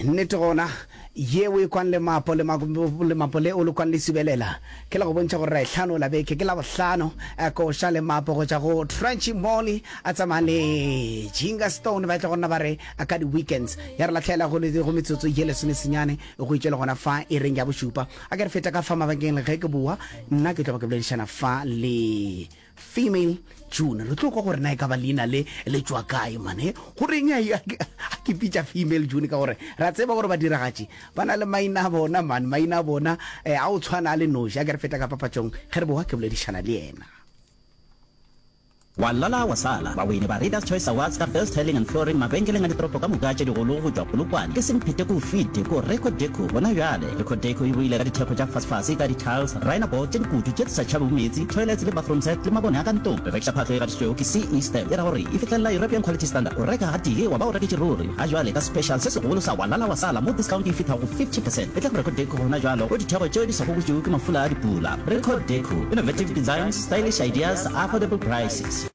Nnete gona, ye o e kwang lemapo, lemapo le o le kwang le subelela, ke la go bontšha gore ra e hlanola beke. Ke Labohlano, koša lemapo go tšwa go Trenchy Molly a tsamaya le Jinga Stone, ba tla go nna ba re ka di-weekends. Ya re lahlela go, go metsotso ye lesomesenyane go itše le gona fa iring ya bošupa. A ke re feta ka fa mabakeng ge ke boa, nna ke tlo ba ke boledišana fa le Female June. Re tlo kwa gore na e ka ba leina le le tšwa kae mane. Go reng a ke pitša Female June ka gore ra tseba gore badiragatši ba na le maina a bona man, maina a bona eh, a o tshwana a le noši. A ke re feta ka papatšong ge re boa ke boledišana le yena. Wa lala wa sala, bawini ba Readers Choice Awards ka Best Tiling and Flooring mabenkeleng a ditoropo ka moka tše digolo go tšwa Polokwane ke Semphete ko Fite ko Reco Deco gona bjale. Reco Deco e boile ka ditheko tša fasefase ka di-tiles, Rhino board tše dikutu tše di sa tšhabego meetse, toilets le bathroom set le mabone a ka ntlong. Re rekiša phahlo e gatišitšwego ke CE Stamp, e ra gore e fihlelela European Quality Standard. O reka gatee wa ba o reketše ruri. Ga jwale ka special se segolo sa wa lala wa sala mo discount e fihla go 50 percent. Etla go Reco Deco gona bjalo go ditheko tšeo di sa gobotšwego ke mafula a dipula. Reco Deco, innovative designs, stylish ideas, affordable prices.